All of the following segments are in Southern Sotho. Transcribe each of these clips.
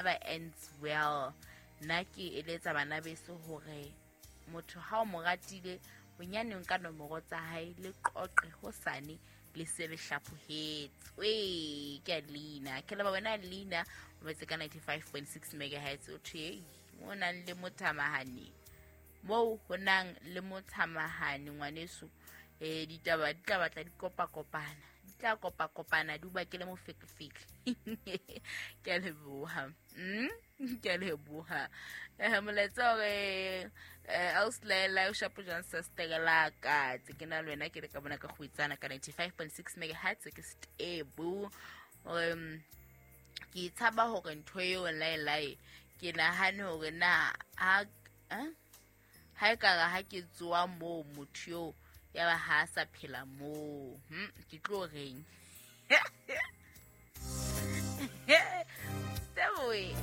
Never ends well. Nna ke eletsa bana beso hore motho ha o mo ratile bonyane nka nomoro tsa hae le qoqe hosane le se le hlaphohetswe. Ke a leina ke leba wena leina o metse ka 95.6 megahertz o thwe mo nang le mothamahane moo ho nang le mothamahane ngwaneso. Ditaba di tla batla di kopakopana, di tla kopakopana di o bakele mofekefeke. Ke a leboha. Ke a leboha. Molaetsa hore auslaela o shapo jang sa sterela ka tse ke na le wena ke le ka bona ka go itsana ka 95.6 megahertz ke stable. Ke tshaba hore ntho eo laelae ke nahane hore na ha ha e kare ha ke tsoa moo motho eo ya ba ha a sa phela moo, ke tlo reng? Steboe.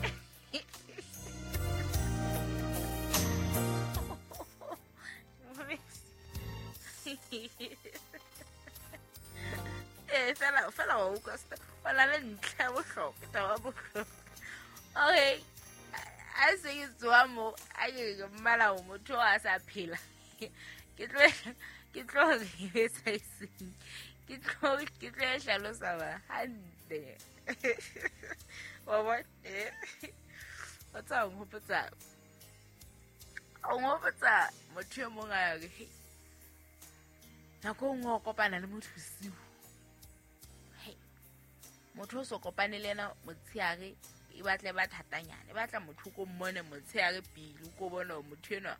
Fela fela wa utlwa o na le ntlha ya bohlokwa, taba ya bohlokwa. Okay, a se ke tsoa mo a ke mmala o motho a sa phela, ke tlo etsa eseng, ke tlo e hlalosa ba hantle. Wa bona? O tsa o nghopotsa motho e mong a re nako e nngwe o kopana le motho bosiu. Motho o so kopane le yena motshehare e batla e ba thatanyana, e batla motho ko mmone motshehare pele o ko bona hore motho enwa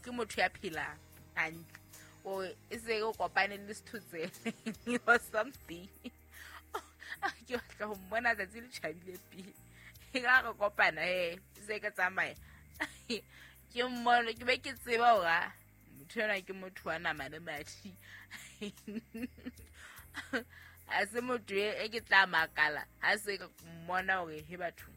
ke motho ya phelang hantle, o e se o kopane le sethotsele or something. Ke batla ho mmona tsatsi le tjhabile pele e ka re kopana e se ke tsamaya ke mmone, ke be ke tseba hore motho enwa ke motho wa nama le madi. A se motho e ke tla makala ha se ka mmona hore he batho.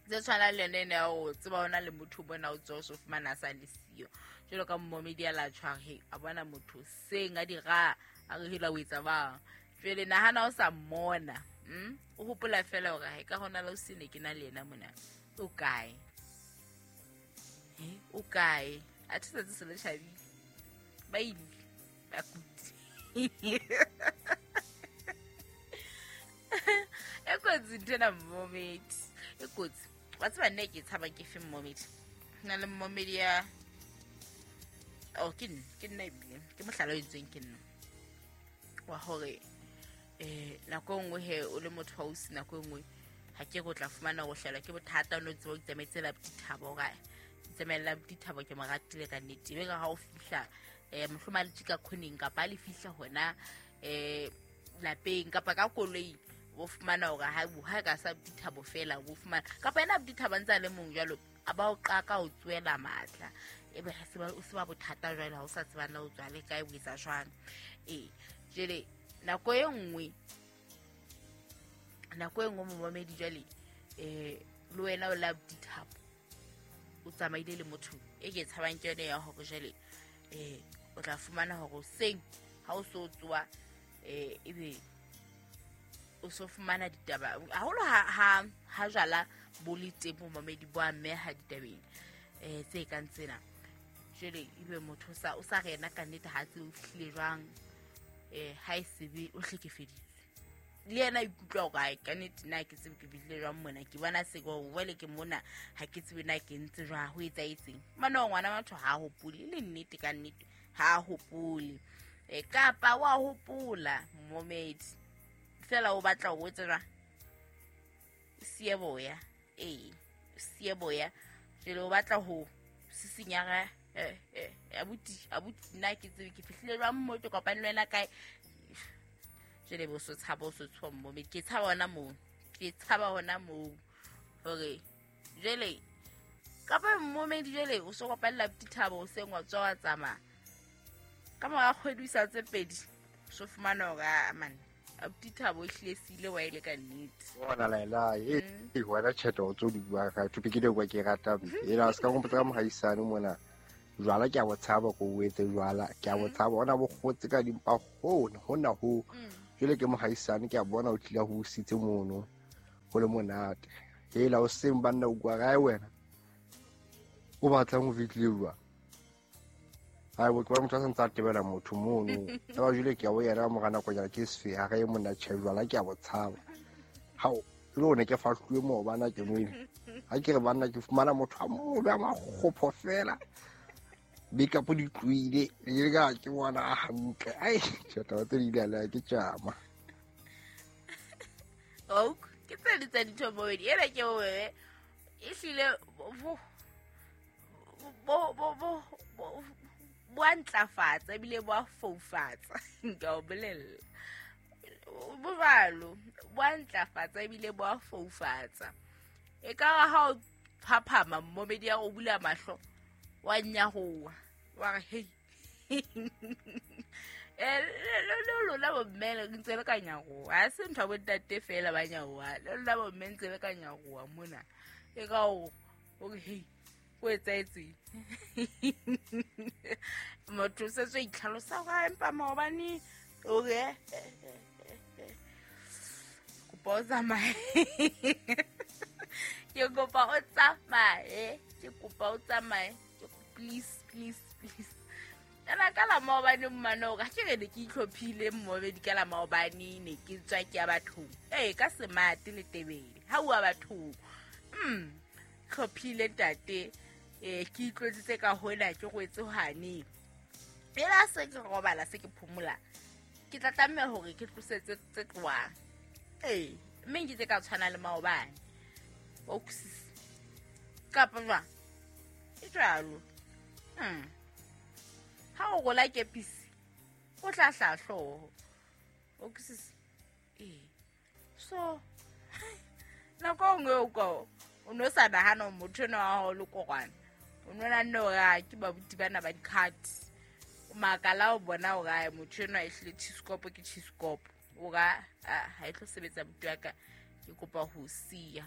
Tse tshwanang le yone ene ya ho tseba hona le motho o bona o tswa o so fumana a sa le siyo. Jwalo ka momedi a la tshware he a bona motho seng a dira a re hela o etsa bang. Jwale nahana o sa mmona, o hopola fela hore ha e ka hona le o sene ke na le yena mona. O kae? O kae? A thusa tse se le tjhabile. Ba ile ba kuti. E kotsi ntho ena mmomedi. E kotsi. Wa tseba nna ke tshaba ke fe mmomedi. Na le mmomedi ya oh ke nna ebile ke mohlala o entsweng ke nna. Wa hore nako e nngwe he o le motho wa ausi, nako e nngwe ha ke go tla fumana go hlelwa ke bothata o no tseba o itsamaetse la dithabo ga tsamaela dithabo ke mo ratile ka nnete. Ebe ka ha o fihla mohlomong a le tjika khoneng kapa a le fihla hona lapeng kapa ka koloi o fumana hore ha ka sa dithabo fela o fumana kapa yena dithabo ntse a le mong jwalo a ba o qaka o tswela matla ebe ha se ba o se ba bothata jwale ha o sa tseba na o tswa le kae o etsa jwang. Jwale nako e nngwe momamedi jwale le wena o la dithabo o tsamaile le motho e ke tshabang ke yone ya hore jwale o tla fumana hore seng ha o so tswa ebe o so fumana ditaba haholo ha jwala bo le teng momamedi bo ameha ditabeng tse kang tsena. Jwale ebe motho o sa rena ka nnete ha tse o fihlile jwang ha e sebe o hlekefeditswe le yena ikutlwa hore ai ka nnete na ke tsebe ke bile jwang mona ke bona se go wele ke mona ha ke tsebe na ke ntse jwang ho etsaetseng. Mane ngwana batho ha hopole le nnete ka nnete ha hopole kapa wa hopola momedi fela o batla ho etsa jwang sieboya sieboya jwale o batla ho sisinyara abuti nna ke tsebe ke fihlile jwang mo ke kopane le wena kae. Jwale bo so tshaba o so tshoha momedi ke tshaba hona moo hore jwale kapa momedi jwale o so kopanela dithabo o seng wa tswa wa tsamaya ka mora kgwedi o sa tse pedi so fumana hore a man dithabo e hlile sile wa ile ka nnete. Bona laela e wena tjhete o tso di bua ka topic e kwa ke rata ela se ka ngompotsa ka mohaisane mona jwala ke a botshaba ko o etse jwala ke a botshaba ona bo kgotse ka dimpa hona hona ho jwale ke mohaisane ke a bona o tlile ho sitse mono. Ho le monate. Hela o seng banna o kwa kae wena? O batlang ho fihlile jwang? Ai bo ke motho a santse a tebela motho mono. Ba jule ke a o yena mora nakonyana ke sefe ha re monna tjhe jwala ke a bo tshaba. Hao le one ke fahluwe moo bana ke nwele. Ha ke re banna ke fumana motho a mobe a makgopho fela. Makeup di tlohile le ka ke bona hantle. Ai tjhe taba tse di ile ke tjama. Ok, ke tse di tsa dintho mobedi ena ke bobebe ehlile bo bo bo bo bo a ntlafatsa ebile bo a foufatsa. Nka o bolella bo jwalo, bo a ntlafatsa ebile bo a foufatsa. E ka re ha o phaphama mmomedi ya o bula mahlo wa nyahoa wa re hei. Le lona bomme le ntse le ka nyaroha. Ha se ntho ya bontate fela ba nyaroha, le lona bomme ntse le ka nyaroha mona. E ka o re hei, o etsahetseng? Motho o setse o itlhalosa hore ha empa maobane o re kopa o tsamaye. Ke kopa o tsamaye, ke kopa o tsamaye. Please, please, please. Ena ka la maobane mmane hore ha ke re ne ke itlhophile mmobedi ka la maobane ne ke tswa ke ya bathong. Ee, ka semate le tebele. Ha ua bathong. Tlhophile ntate. Ke itlotsitse ka hona ke rwetse hwane. Ela se ke robala se ke phomola. Ke tla tlameha hore ke tlosetse tse tlohang. Ee, mme nke tse ka tshwana le maobane. Wa utlwisisa? Kapa jwang? E jwalo. Ha o rola kepisi, o tla hlaha hlooho. O utlwisisa? Ee. So, nako e nngwe o ka o no sa nahana hore motho enwa wa hao le korwana. O no nahanne hore a ke babuti bana ba di-card. O makala o bona hore ae, motho enwa ehlile cheesekopo ke cheesekopo. O ra, ha e tlo sebetsa buti wa ka, ke kopa ho siya.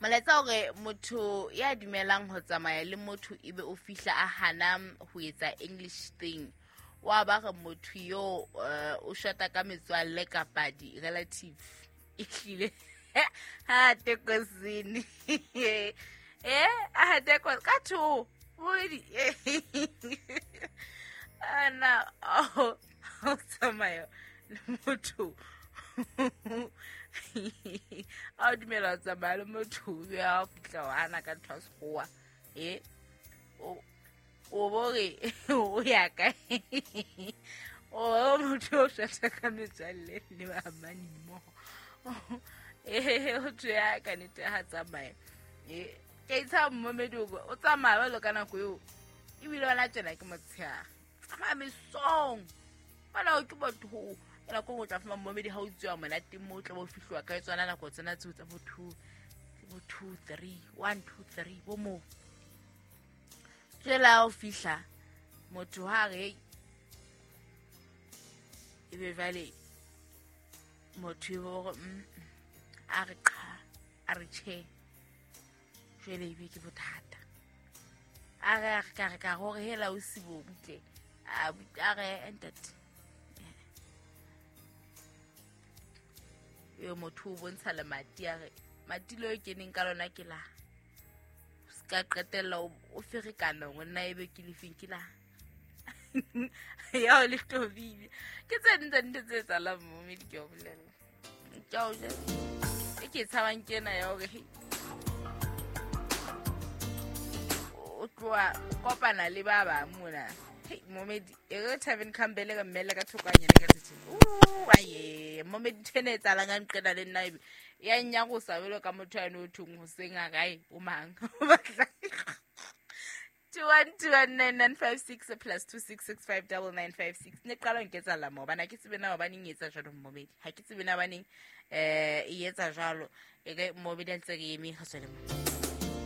Molaetsa hore motho ya dumelang ho tsamaya le motho ebe o fihla a hana ho etsa English thing. Wa ba re motho yo o shota ka metswalle kapa di-relative. Ehlile. Ha tekosini. A teko ka two. Bobedi. Ana o tsamaya le motho. A dumela ho tsamaya le motho ya fihla wa hana ka ntho ya sekgowa. O bo re o ya kae? O motho o shota ka metswalle le ba amane mmoho. O thwe ya ka nnete ha tsamaya. Ke itshaba mmomedi o tsamaya jwalo ka nako eo. Ebile hona tjena ke motshehare. Tsamaya mesong. Bana o ke batho. Ka nako e nngwe o tla fumana mmomedi ha o tsuwa monate moo o tla bo fihluwa ka tsona nako tsena tseo tsa bo 2, bo 2, 3, 1, 2, 3, bo moo. Jwale ha o fihla, motho ha re, ebe jwale motho e bo hore, a re qha, a re tjhe. Jwale ebe ke bothata. A re, a re ka re ka hore hela o sibo butle. A re, ntate. Eo motho o bontsha lemati a re, mati leo ke neng ka lona ke la. Se ka qetella o ferekana hore nna ebe ke lefeng ke la. Ya o le tobile. Ke tse ding tsa dintho tse etsahalang mo, mme di ke o bolella. Ke a o jwetsa. E ke e tshabang ke ena ya hore, hei, o tloha o kopana le ba bang mona. Hei, momedi, e re Tavern Campbell ka mmele ka thoko hanyane ka tjhe. Aye, momedi ntho ena e etsahalang ha nqena le nna ebe ya nnyarosa jwalo ka motho yane o thong hoseng a kae, o mang? O batla 2121956 plus 26659956. Ne qala ho nketsahala moo, hobane ha ke tsebe na hobaneng e etsa jwalo mmomedi. Ha ke tsebe na hobaneng, e etsa jwalo. E re mmomedi a ntse re eme, re tswele mona.